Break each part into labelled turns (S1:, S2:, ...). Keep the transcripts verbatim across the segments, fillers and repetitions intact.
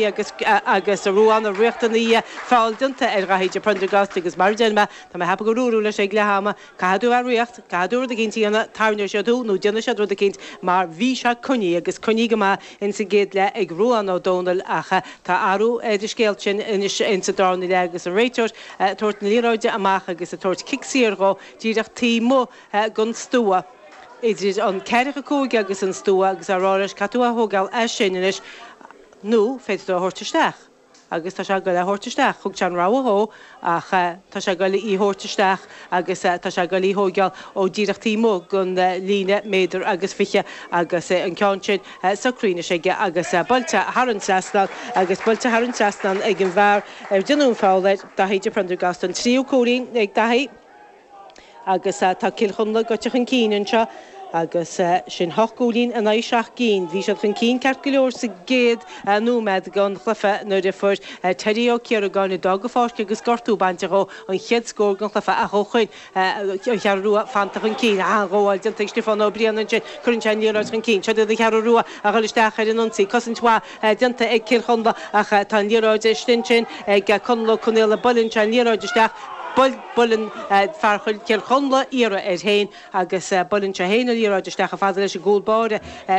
S1: agus agus a Ruán a riachtanaí feall déanta ar Dhaithí de Prendergast agus mar deir mé tá mé ceapadh gur dúradh leis ag leath ama caithfidh tú a rith caithfidh tú rud eicínt a dhéanamh tarraingeoidh siad thú nó déanfaidh siad rud eicínt mar bhí sé coinnithe agus coinnithe go maith insa gcéad leath ag Ruán Ó Dónaill ach tá athrú ar an scéal sin anois insa darna leath agus an réiteoir ag tabhairt na liathróide amach agus ag tabhairt cic saor dhó díreach taobh amuigh den stua. Idir an ceathracha cúig agus an stua agus á rá leis caithfidh tú a thógáil as sin anois nó féadfaidh tú a thabhairt isteach agus tá sé ag goil a thabhairt isteach. Thug sé an rogha dhó ach tá sé ag goil í thabhairt isteach agus tá sé ag goil í thógáil ó díreach taobh amuigh den líne méadar agus fiche agus an ceann sin socraithe anois aige agus buailte thar an trasnán agus buailte thar an trasnán ag an bhfear ar déanadh an feall air, Daithí de Prendergast, an tríú cúilín ag Daithí agus tá Cill Chonla gaibhte chun cinn anseo. Agus sin hocht gcúilín in aghaidh seacht gcinn. Bhí siad chun cinn ceart go leor sa gcéad nóiméad den chluiche nuair a fuair Terry Ó Ciaragáin, a d'fhág an pháirc agus gortú bainte dhó, an chéad scór den chluiche ach ó shoin an Cheathrú Rua fanta chun cinn. An-ghabháil déanta ag Stiofán Ó Briain ansin. Cuireann sé an liathróid chun cinn. Seo iad an Cheathrú Rua a dhul isteach ar an ionsaí. Cosaint mhaith déanta ag Cill Chonla ach tá an liathróid istigh ansin ag Conall Ó Conaola. Buaileann sé an liathróid isteach. Buaileann fear Chill Chonla iarraidh air féin agus buaileann sé féin an liathróid isteach chomh fada leis an gcúl báire,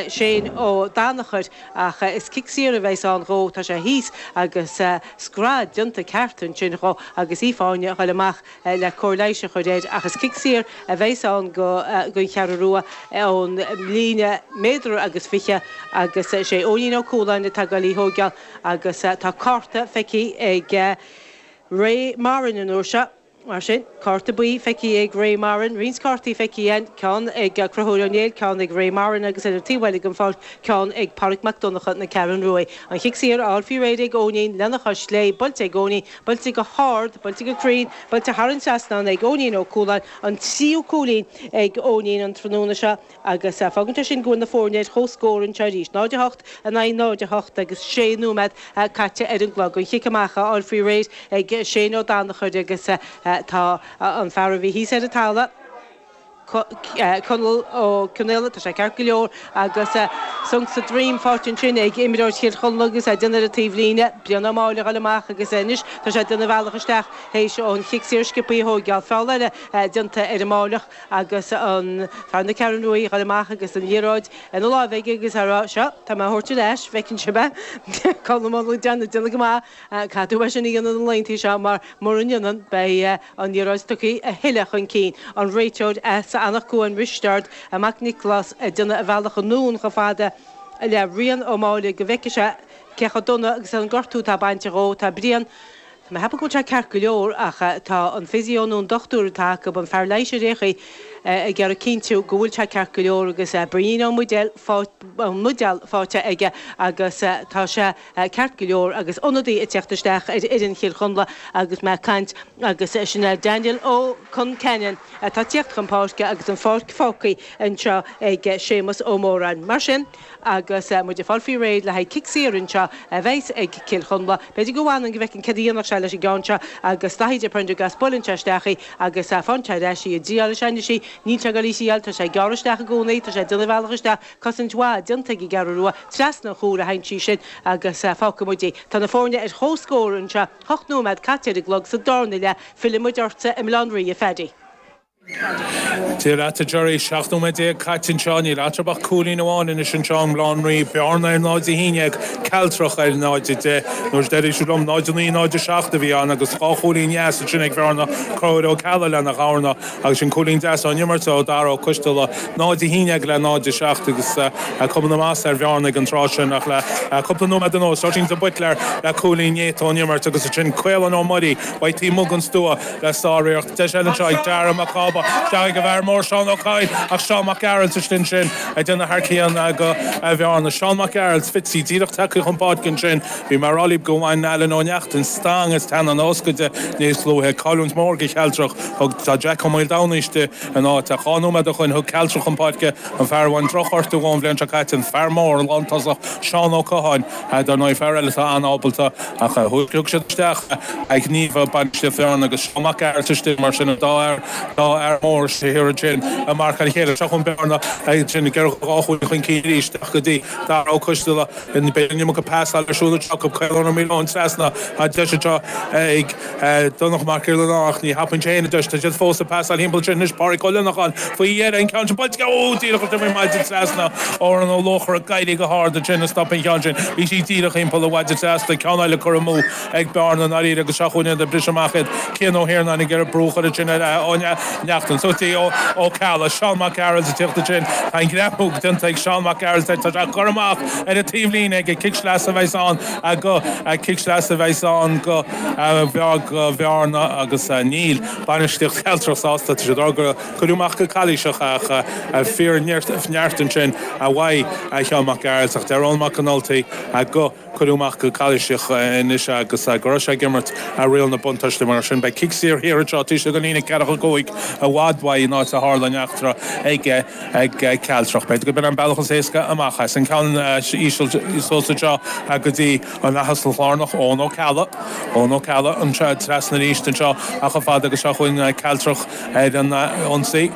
S1: Shane Ó Danachair, ach is cic saor a bheas ann dhó. Tá sé thíos agus scread déanta ceart ansin dhó agus Aoife Áine a dhul amach le cóir leighis a chur air ach is cic saor a bheas ann don Cheathrú Rua ón líne méadar agus fiche agus is é Eoinín Ó Cualáin atá ag dul í thóigeáil agus tá cárta feicthe ag Ray Moran an uair seo. Mar sin, cárta buí feicthe ag Ray Moran, roinnt cártaí feicthe again, ceann ag Conchúr Ó Néill, ceann ag Ray Moran agus ar an taobh eile den pháirc, ceann ag Pádraig Mac Donncha na Ceathrún Ruaidh. An chic saor á fháil faoi réir ag Eoinín lena chois chlé, buailte ag Eoinín, buailte go hard, buailte go cruinn, buailte thar an trasnán ag Eoinín Ó Cualáin, an tríú cúilín ag Eoinín an tráthnóna seo agus fágann sé sin go bhfuil na foirne ar comhscór anseo arís, náid a hocht in aghaidh náid a hocht agus sé nóiméad caite ar an gclog. An chic amach á fháil faoi réir ag Shane Ó Danachair agus tá an fear a bhí thíos ar an talamh, Conall Ó Conaola, tá sé ceart go leor agus sonc sa droim faighte ansin ag imreoir Chill Chonla agus é ag déanamh ar an taobhlíne, Brian Ó Máille a dhul amach agus anois tá sé ag déanamh a bhealach isteach théis an chic saor sciobtha a thóigeáil. Feall eile déanta ar an Máilleach agus an fear na Ceathrún Ruaidh a dhul amach agus an liathróid ina láimh aige agus á rá, seo, tá mé á thabhairt ar ais, bhfeiceann sibh é. Conall Ó Déanamh, déanamh go maith. Caithfidh tú é sin a dhéanamh na laethanta seo mar mura ndéanann beidh an liathróid tugtha a thuilleadh chun cinn. An réiteoir as Anach Cuain, Risteard Mac Niocláis ag déanamh a bhealach anonn chomh fada le Brian Ó Máille go bhfeicfidh sé cé chomh dona agus an gortú atá bainte dhó. Tá Brian, tá mé ag ceapadh go bhfuil sé ceart go leor ach tá an physio nó an dochtúir atá acu, an fear leighis ar aon chaoi, ag iarraidh cinntiú go bhfuil sé ceart go leor agus braoinín ón mbuidéal ón mbuidéal faighte aige agus tá sé ceart go leor agus ionadaí ag teacht isteach ar fhoireann Chill Chonla agus mé ag caint agus sin é Daniel Ó Conceanainn atá ag tíocht chun páirce agus an pháirc fágtha anseo ag Séamus Ó Móráin. Mar sin agus muid ag fáil faoi réir le haghaidh cic saor anseo a bheas ag Cill Chonla. B'fhéidir go bhfanann go bhfeiceann céard a dhéanfadh sé leis an gceann seo agus Daithí de Prendergast buaileann sé isteach í agus faigheann sé ar ais í ag triáil leis anois í. Níl sé ag dul í a thriáil, tá sé ag gearradh isteach i gcónaí, tá sé ag déanamh a bhealach isteach, cosaint mhaith déanta ag an gCeathrú Rua, trasna an chúil a théann sí sin agus fágfaidh muid í. Tá na foirne ar comhscór anseo, ocht nóiméad caite ar an gclog sa darna leath, fillfidh muid ortsa i mBaile Átha an Rí, a Phaddy.
S2: Dia leat a Gerry, seacht nóiméad déag caite anseo, níl eatarthu ach cúilín amháin anois anseo i mBaile Átha an Rí, Bearna ar náid a haon déag, Cealtrach ar náid a deich. Nuair a deir siad liom náid a naoi, náid a seacht a bhí ann agus dhá chúilín dheas ansin ag Bhearna, Conchúr Ó Ceallaigh lena dharna agus sin cúilín deas ón imirt ó Dara Ó Coisteala, náid a haon déag le náid a seacht agus cuma na masa ar Bhearna ag an tráth sin ach le cúpla nóiméad anuas, Oisín de Buitléar le cúilín néata ón imirt agus ansin Caolán Ó Muirí uaidh taobh amuigh den stua le sáriarracht. Deis eile anseo ag Dara Mac Cába, isteach ag an bhfear mór Seán Ó Cadhain ach Seán Mac Gearailt istigh ansin ag déanamh thar cionn do Bhearna. Seán Mac Gearailt, Fitzy, díreach tagtha chun páirce ansin. Bhí mé ag rá libh go bhain Alan Ó Neachtain stangadh as teannán a fhoscaide níos luaithe. Cailliúint mhór do Chealtrach. Thug tá Jack Ó Maoldomhnaigh istigh ina áit ach dhá nóiméad ó shoin thug Cealtrach chun páirce an fear a bhain drochghortú ón bhliain seo caite, an fear mór, an lántosach Seán Ó Catháin, dar ndóigh fear eile atá an-ábalta ach thug siad isteach a ghníomh bainistíocht Bhearna agus Seán Mac Gearailt istigh mar sin an dá fhear dá fhear fhear mór thiar ansin ag marcáil a chéile. Seo chun Bearna ansin ag iarraidh dhá chúilín chun cinn arís isteach go dtí Dara Ó Coisteala. Beidh an iomarca pasáil ar siúl anseo acu. Caolán Ó Maoileoin trasna. Tá deis anseo ag Donncha Mac Giollarnáth ach ní thapaíonn sé féin an deis. Tá siad fós ag pasáil thimpeall ansin anois. Pádraig Ó Lionnacháin faoi dheireadh an ceann sin buailte aige. Ó, díreach istigh faoin maide trasna. Odhrán Ó Luachra ag éirí go hard ansin ag stop an cheann sin. Bhí sí díreach thimpeall an mhaide trasna. Ceann eile curtha amú ag Bearna i ndáiríre agus seo chugainn iad ag briseadh amach iad. Cian Ó hIarnáin ag iarraidh brú a chur ansin ar Ó Neachtain. Suas dtí Ó Ceallaigh. Seán Mac Gearailt ag tíocht ansin. Tá an greamú déanta ag Seán Mac Gearailt air. Tá sé curtha amach ar an taobhlíne aige. Cic sleasa a bheas ann go cic sleasa a bheas ann go go Bhearna agus níl bainistíocht Chealtrach sásta. Tá siad ag rá gur cuireadh amach go calaoiseach ach fíor neart ansin uaidh Sheán Mac Gearailt ach deir Eoin Mac Con Ultaigh go cuireadh amach go calaoiseach anois agus go raibh sé ag imirt riail na buntáiste. Mar sin beidh cic saor thiar anseo taobh istigh den líne ceathracha cúig i bhfad uaidh an áit a tharla an eachtra ag ag Cealtrach. B'fhéidir gurb in an bealach is éasca amach as an ceann íseal suas anseo go dtí an leathasal lárnach Eoin Ó Ceallaigh. Eoin Ó Ceallaigh anseo trasna arís anseo ach chomh fada agus seo chugainn Cealtrach ar an ionsaí.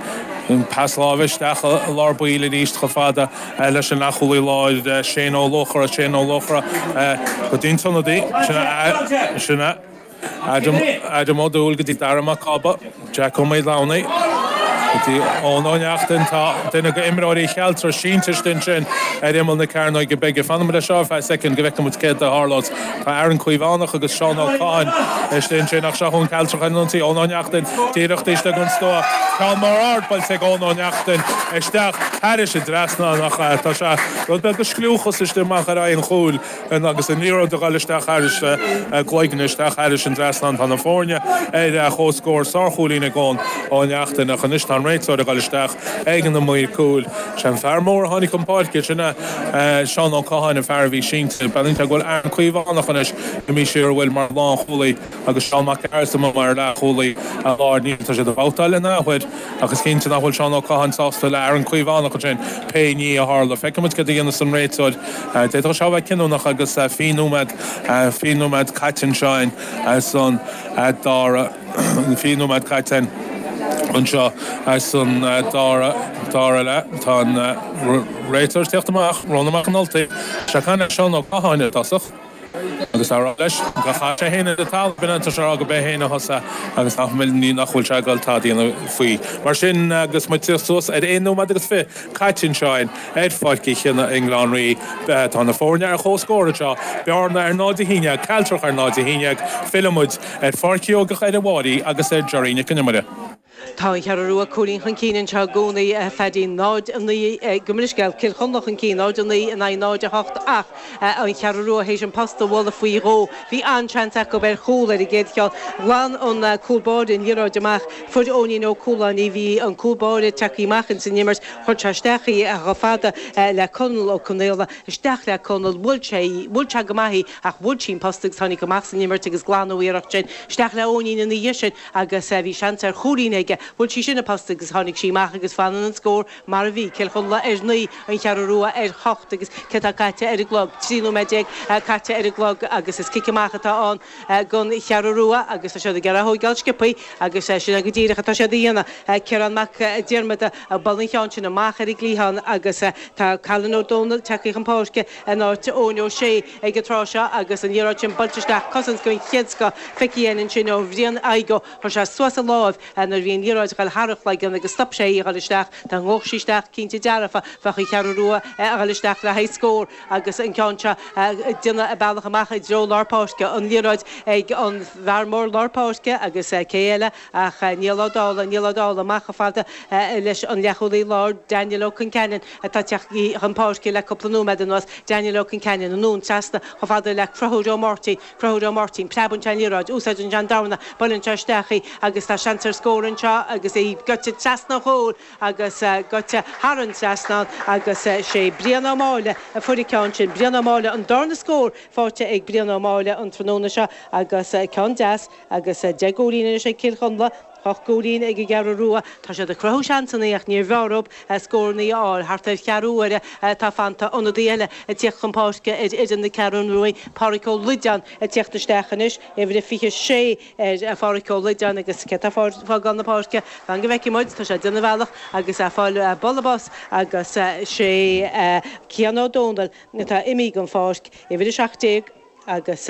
S2: An pas láimhe isteach i lár baill arís chomh fada leis an leathchúlaí láir Shane Ó Luachra, Shane Ó Luachra go dtí an t-ionadaí. Sin é Adam Adam Ó Dúill go dtí Dara Mac Cába, Jack Ó Maoileamhnaigh go dtí Eoin Ó Neachtain. Tá duine de imreoirí Chealtrach sínte istigh ansin ar imeall na cearnóige bige. Fanfaidh muid leis seo ar feadh soicind go bhfeicfidh muid céard a tharlós. Tá Aaron Caomhánach agus Seán Ó Catháin istigh ansin ach seo chugainn Cealtrach ar an ionsaí. Eoin Ó Neachtain díreach taobh istigh den stua. Ceann mór ard buailte ag Eoin Ó Neachtain isteach thairis an dtrasnán ach tá sé rud beag de scliúchas istigh amach ar aghaidh an chúil agus an liathróid ag dul isteach thairis gcloigne isteach thairis an dtrasnán. Tá na foirne ar comhscór sárchúilín ag Eoin Ó Neachtain ach anois tá an réiteoir ag dul isteach ag an maor cúil. Sé an fear mór a tháinig chun páirce sin é Seán Ó Catháin an fear a bhí sínte. Breathnaíonn sé go bhfuil Aaron Caomhánach anois imithe siar a bhfuil mar lánchúlaí agus Seán Mac Gearailt amuigh mar leathchúlaí láir. Níl tá siad ag babhtáil in athuair ach is cinnte nach bhfuil Seán Ó Catháin sásta le Aaron Caomhánach ansin pé ní a tharla. Feicfidh muid céard a dhéanfas an réiteoir. D'fhéadfadh sé a bheith cinniúnach agus fiche nóiméad fiche nóiméad caite anseo san dara fiche nóiméad caite anseo san dara dara leath. Tá an réiteoir ag teacht amach, Rónán Mac Con Ultaigh. Sé caint le Seán Ó Catháin i dtosach agus á rá leis gur chaith sé féin ar an talamh, b'in an tá sé á rá go b'é féin a thosaigh agus nach bhfuil ní nach bhfuil sé ag dul tada a dhéanamh faoi. Mar sin agus muid ag tíocht suas ar aon nóiméad agus fiche caite anseo ar Pháirc Uí Chionnaith i nGleann Rí, tá na foirne ar comhscór anseo, Bearna ar náid a haon déag, Cealtrach ar náid a haon déag, filleann muid ar Pháirc Sheoigeach ar a Mháirí agus ar Gerry Nic an Iomaire.
S1: Tá an Cheathrú Rua cúilín chun cinn anseo i gcónaí, a Phaddy, náid a naoi, gabh mo leithscéal, Cill Chonla chun cinn, náid a naoi in aghaidh náid a hocht ach an Cheathrú Rua théis an posta a bhualadh faoi dhó. Bhí an-seans acu ar chúl ar an gcéad cheann. Ghlan an cúl báire an liathróid amach. Fuair Eoinín Ó Cualáin í. Bhí an cúl báire tagtha amach ins an imirt. Chuir sé isteach í chomh fada le Conall Ó Conaola. Isteach le Conall. Bhuail sé í. Bhuail sé go maith í ach bhuail sí an posta agus tháinig amach as an imirt agus glanadh iarracht sin. Isteach le Eoinín ina dhiaidh sin agus bhí seans ar chúilín aige. Bhuail sí sin an posta agus tháinig sí amach agus fanann an scór mar a bhí, Cill Chonla ar naoi, An Cheathrú Rua ar hocht agus céard atá caite ar an gclog? Trí nóiméad déag caite ar an gclog agus is cic amach atá ann don Cheathrú Rua agus tá siad ag iarraidh a thóigeáil sciobthaí agus sin é go díreach atá siad a dhéanamh. Ciarán Mac Diarmada ag bualadh an cheann sin amach ar an gcliathán agus tá Colin Ó Dónaill tagtha chun páirce in áit Eoin Ó Sé ag an tráth seo agus an liathróid sin buailte isteach, cosaint den chéad scoth feicthe againn ansin ó Bhrian Igoe. Chuir sé suas a láimh nuair a bhí an liathróid ag dul thar a chloigeann agus stop sé í a dhul isteach. Dá ngabhadh sí isteach, cinnte dearfa, bheadh an Cheathrú Rua ag dul isteach le haghaidh scór agus an ceann seo ag déanamh a bealach amach i dtreo lár páirce. An liathróid ag an bhfear mór lár páirce agus cé eile ach Niall Ó Dálaigh, Niall Ó Dálaigh amach chomh fada leis an leathchúlaí láir, Daniel Ó Conceanainn atá tagtha chun páirce le cúpla nóiméad anuas. Daniel Ó Conceanainn anonn trasna chomh fada le Conchúr Ó Máirtín, Conchúr Ó Máirtín, preabann sé an liathróid, úsáideann sé an dorna, buaileann sé isteach í agus tá seans ar scór anseo agus í gaibhte trasna an chúil agus gaibhte thar an trasnán agus sé Brian Ó Máille a fuair an ceann sin. Brian Ó Máille, an darna scór faighte ag Brian Ó Máille an tráthnóna seo agus ceann deas agus deich gcúilín anois ag Cill Chonla Ocht gcúilín ag an gCeathrú Rua. Tá siad ag cruthú seansanna ach níor mhear dóibh scóranna a fháil. Thart ar cheathrú uaire atá fanta. Ionadaí eile ag tíocht chun páirce ar fhoireann na Ceathrún Rua, Pádraic Ó Loideáin ag tíocht isteach anois. Uimhir a fiche sé ar Phádraic Ó Loideáin agus cé atá ag fágáil na páirce? Fan go bhfeicfidh muid. Tá sé ag déanamh a bhealach agus é ag fáil bualadh bos agus sé Cian Ó Dónaill atá imithe den pháirc. Uimhir a seacht déag agus.